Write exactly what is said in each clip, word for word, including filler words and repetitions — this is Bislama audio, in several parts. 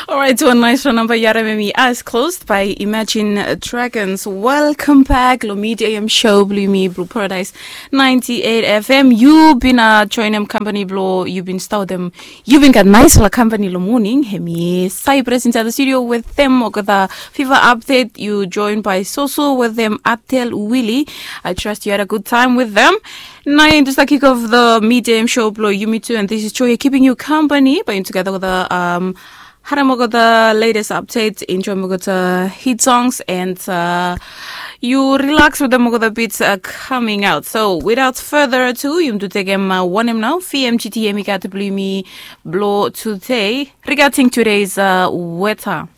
Alright, wan nice phone number. Yara memi eyes closed by Imagine Dragons. Welcome back lo Midday A M show blo yumi blo Paradise ninety-eight F M. Yu bin uh, join them company blo yu bin start them. Yu bin gat nice la company lo morning. Hemi Cyprus inside the studio with them. Olgeta fever update. Yu joined by Soso with them. Atel Willie. I trust you had a good time with them. Nau yumi start kick off the Midday A M show blo yumi too, and this is Joy keeping you company. By together with the um, Harem olgeta latest update, enjoy olgeta hit songs, and uh, you relax with them olgeta beats uh, coming out. So without further ado, yumi tu tekem uh, wanem nau, V M G T M i gat blo yumi blo today regarding today's uh, weather.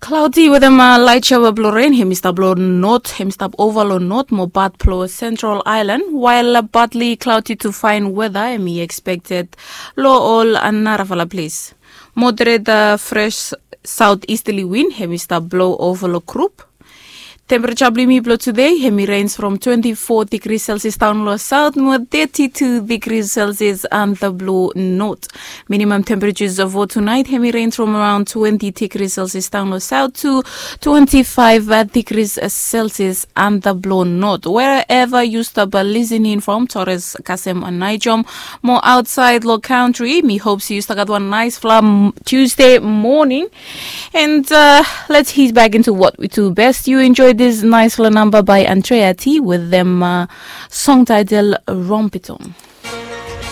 Cloudy with them uh, light shower blo rain, hemi stap lo north, hemi stap over lo north, mo bad blo Central Island, while uh, partly cloudy to fine weather, hemi expected lo ol uh, narafala place. Moderate uh, fresh southeasterly wind, hemi stap blo over lo group. Temperature blo yumi blo today, hemi range from twenty-four degrees Celsius down lo south, mo thirty-two degrees Celsius under blo north. Minimum temperatures for tonight, hemi range from around twenty degrees Celsius down lo south to twenty-five degrees Celsius under blo north. Wherever you stap uh, listening from, Torres, Kasem, and Nijom, mo outside lo country, mi hope you start gat one nice fla Tuesday morning. And uh, let's ease back into what we do best. You enjoy this nice little number by Andrea T with them uh, song title Rompiton.